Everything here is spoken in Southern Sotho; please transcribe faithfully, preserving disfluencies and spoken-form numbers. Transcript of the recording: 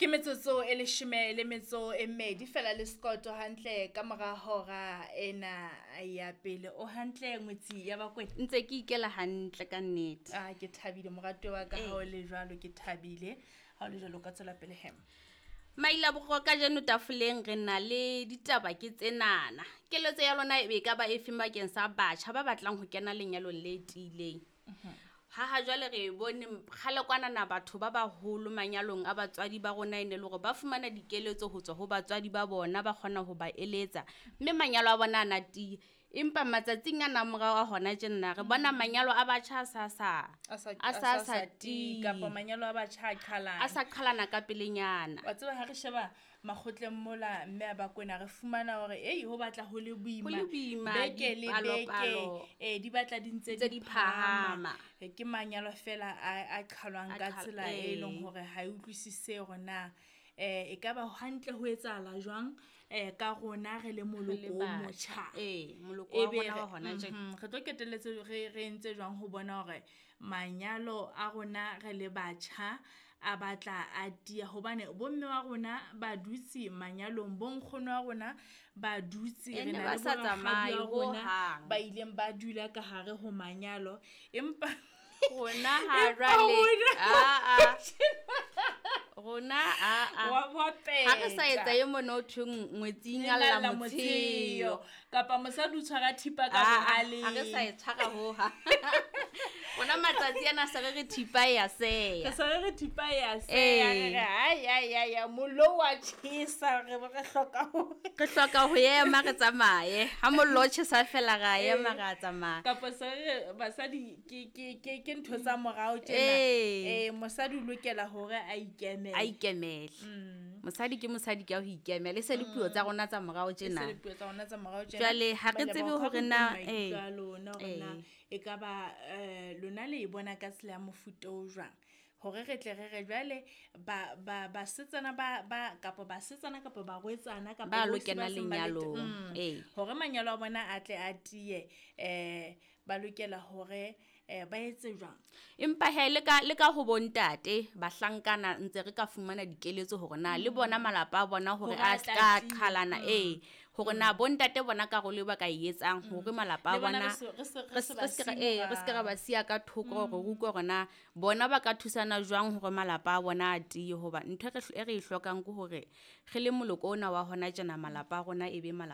Ke metsotso e leshome le metso e mmedi fela le sekoto hantle ka mora hora ena ya pele. O hantle ngwetsi ya Bakwena? Ntse ke ikela hantle ka nnete. Ah, ke thabile moratuwa wa ka Ee. ha o le jwalo, ke thabile. Ha o le jwalo o ka tswela pele he. Maila borwa kajeno tafoleng re na le ditaba ke tsenana. Keletso ya lona e ka ba efeng bakeng sa batjha ba batlang ho kena lenyalong le tiileng? Ha ha jwale re bone kgale kwanana batho ba baholo manyalong a batswadi ba rona e ne le hore ba fumana dikeletso ho tswa ho batswadi ba bona, ba kgona ho ba eletsa mme manyalo a bona a na tiya. Empa matsatsing ana a morao a hona tjena re bona manyalo a batjha a sa sa A sa a a sa sa sa sa tiyi tiyi. kapa manyalo a batjha a qhalana. A sa qhalana ka pelenyana. Wa tseba ha re sheba makgotleng mola mme a Bakwena re fumana hore ei ho batla ho le boima. Ho le boima, Beke le beke, dipalopalo. eh di batla di ntse Ntse di di phahama. phahama. Eh, ke manyalo fela a a qhalwang A ka qhal- tsela e leng ee. hore ha e utlwisise hore na eh ekaba hantle ho etsahala jwang eh ka rona re le Re le moloko o batjha. motjha. Ee, moloko wa Ebe rona re wa hona tjena. mhm, re tlo qetelletse re re entse jwang ho bona hore manyalo a rona re le batjha a batla a tiya hobane bomme wa rona ba dutse manyalong, bo nkgono wa rona ba dutse, E re ne na ba le sa bo rakgadi tsamaye wa rona hohang. ba ileng ba dula ka hare ho manyalo. Empa Rona ha empa jwale, rona ah, ah. Rona, ah, ah. Wa wa Ha re sa peta. etsa e mona ho thweng ngwetsi e Ngalla ngalla motsheo. motsheo. Kapa mosadi o tshwara thipa ka Ah, ah, bohaleng. ha re sa e tshwara hohang. Rona matsatsi ana se re re thipa e ya seya. Re se re re thipa e ya seya, re Ee. re ai, ai, ai, ai, mollo wa tjhesa, re be re hloka ho Re hloka ho ema re tsamaye. Ha mollo o tjhesa fela ra ema Ee. ra tsamaya. Kapa se re re basadi ke, ke, ke, ke ntho tsa morao tjena. Ee. Eh, mosadi o lokela hore a ikemele. A ikemele. Mm. Mosadi ke mosadi ka ho ikemela. E se le puo tsa rona tsa morao E se tjena. le puo tsa rona tsa morao tjena. Jwale ha re Ba tsebe leboha hore ka na, maikutlo ee. a lona hore na Ee. e ka ba, eh, lona le e bona ka tsela ya mofuta o jwang. Hore re tle re re jwale ba, ba, basetsana ba, ba, kapa basetsana kapa barwetsana kapa Ba lo bohle ba kena seng ba le lenyalong. mm, Ee. hore manyalo a bona a tle a tiye, eh, ba lokela hore, eh, ba etse jwang? Empa he, le ka, le ka ho bontate bahlankana ntse re ka fumana dikeletso hore na le bona malapa a bona hore Hore a a ska tla tiya. qhalana, Mm. ee, hore na bontate bona karolo e ba ka e etsang hore malapa a Le bona bona re se, re se, re re se se, ba re se ke ra, siye ee, re se ke ra morao. ba siya ka thoko hore re utlwe hore na bona ba ka thusana jwang hore malapa a bona a tiye. Hoba ntho e re e re e hlokang ke hore re le moloko ona wa hona tjena malapa a rona e be malapa